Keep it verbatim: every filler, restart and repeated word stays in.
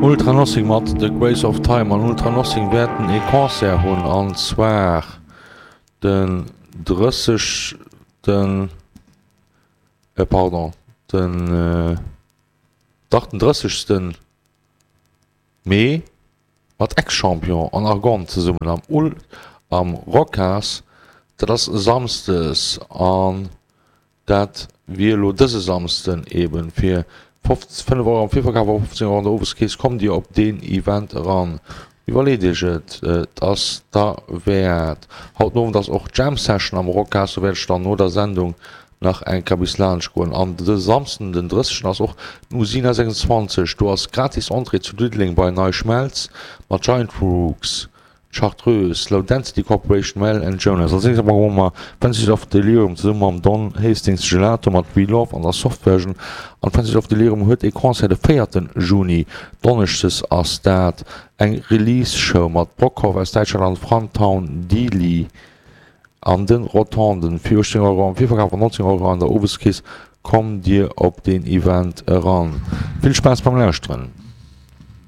Ultra Nothing mat The Grace of Time an Ultra Nothing wäerten ee Concert hunn an zwar den drëssegsten, äh pardon, den, dach den drëssegsten Mee mat Ex-Champion an Argonne zesummen am Ul am Rocas. Dat ass Samsdes an dat wier elo dëse Samsden eben fir fënnef Euro am Virverkaf a fofzéng Euro an der Oweskeess kommt Dir op deen Event eran. Iwwerleet Iech et, et ass derwäert. Haut den Owend ass och Jam Session am Rocas, do wäert ech dann no der Sendung nach eng Kéier bis laanscht goen. An de Samsden den drëssegsten ass och den Usina sechsundzwanzeg, do ass gratis Entrée zu Diddeleng bei NeiSchmelz mat Giant Rooks, Chartreuse, Low Density Corporation, Mel and Jonas. Als nächst awer hu mer Frenzies of Delirium zesumme mam Don Hastings Gelato mat We Love an der Soft Version. An Frenzies of Delirium huet ee Concert de véierten Juni, donneschdes ass dat, eng Release Show mat Brockhoff aus Däitschland an Frantown Dealy an de Rotonden. Fir uechtzéng Euro am Virverkaf an neunzéng Euro an der Oweskeess kommt dir op deen Event eran. Vill Spaass beim Lauschteren!